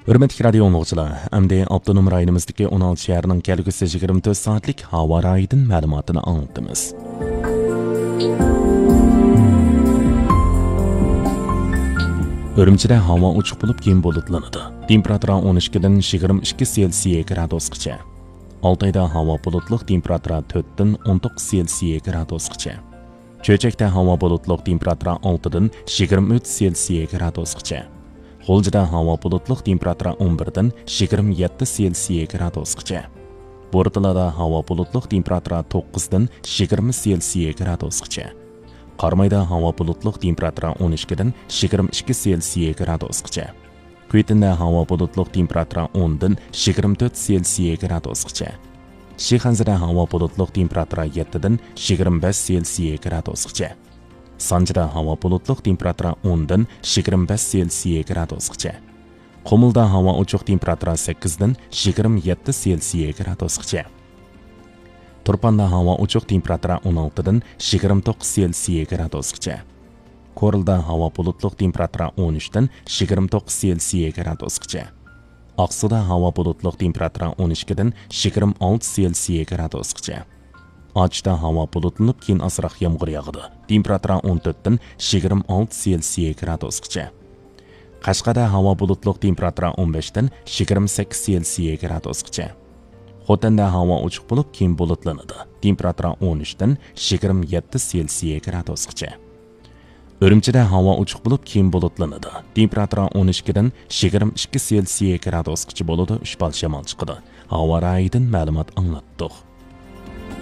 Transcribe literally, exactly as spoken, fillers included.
ھۆرمەتلىك رادىيو ئاڭلىغۇچىلار، ئەمدى ئاپتونوم رايونىمىزدىكى ئون ئالتە شەھەرنىڭ كەلگۈسى يىگىرمە تۆت سائەتلىك ھاۋا رايىدىن مەلۇماتىنى ئاڭلىتىمىز. ئۈرۈمچىدە ھاۋا ئوچۇق بولۇپ، كېيىن بۇلۇتلىنىدۇ. تېمپېراتۇرا ئون ئىككىدىن يىگىرمە ئىككى سېلسىيە گرادۇسقىچە. ئالتايدا ھاۋا بۇلۇتلۇق، تېمپېراتۇرا تۆتتىن ئون توققۇز سېلسىيە گرادۇسقىچە. چۆچەكتە ھاۋا بۇلۇتلۇق، تېمپېراتۇرا ئالتىدىن يىگىرمە ئۈچ سېلسىيە گرادۇسقىچە. غۇلجىدا ھاۋا بۇلۇتلۇق، تېمپېراتۇرا ئون بىردىن يىگىرمە يەتتە سېلسىيە گرادۇسقىچە. بورتالادا ھاۋا بۇلۇتلۇق، تېمپېراتۇرا توققۇزدىن يىگىرمە سېلسىيە گرادۇسقىچە. قارامايدا ھاۋا بۇلۇتلۇق، تېمپېراتۇرا ئون ئىككىدىن يىگىرمە ئىككى سېلسىيە گرادۇسقىچە. كۈيتىندە ھاۋا بۇلۇتلۇق، تېمپېراتۇرا ئوندىن يىگىرمە تۆت سېلسىيە گرادۇسقىچە. شىخەنزىدە ھاۋا بۇلۇتلۇق، تېمپېراتۇرا يەتتىدىن يىگىرمە بەش سېلسىيە گرادۇسقىچە. سانجىدا ھاۋا بۇلۇتلۇق، تېمپېراتۇرا ئوندىن يىگىرمە بەش سېلسىيە گرادۇسقىچە. قۇمۇلدا ھاۋا ئوچۇق، تېمپېراتۇرا سەككىزدىن يىگىرمە يەتتە سېلسىيە گرادۇسقىچە. تۇرپاندا ھاۋا ئوچۇق، تېمپېراتۇرا ئون ئالتىدىن يىگىرمە توققۇز سېلسىيە گرادۇسقىچە. كورلىدا ھاۋا بۇلۇتلۇق، تېمپېراتۇرا ئون ئۈچتىن يىگىرمە توققۇز سېلسىيە گرادۇسقىچە. ئاقسۇدا ھاۋا بۇلۇتلۇق، تېمپېراتۇرا ئون ئىككىدىن يىگىرمە ئالتە سېلسىيە گرادۇسقىچە. ئاچۇشتا ھاۋا بۇلۇتلىنىپ، كېيىن ئازراق يامغۇر ياغىدۇ. تېمپېراتۇرا ئون تۆتتىن يىگىرمە ئالتە سېلسىيە گرادۇسقىچە. قەشقەردە ھاۋا بۇلۇتلۇق، تېمپېراتۇرا ئون بەشتىن يىگىرمە سەككىز سېلسىيە گرادۇسقىچە. خوتەندە ھاۋا ئوچۇق بولۇپ، كېيىن بۇلۇتلىنىدۇ. تېمپېراتۇرا ئون ئۈچتىن يىگىرمە يەتتە سېلسىيە گرادۇسقىچە. ئۈرۈمچىدە ھاۋا ئوچۇق بولۇپ، كېيىن بۇلۇتلىنىدۇ. تېمپېراتۇرا ئون ئىككىدىن يىگىرمە ئىككى سېلسىيە گرادۇسقىچە بولىدۇ، ئۈچ بال شامال چىقىدۇ. ھاۋا رايىدىن مەلۇمات ئاڭلاتتۇق.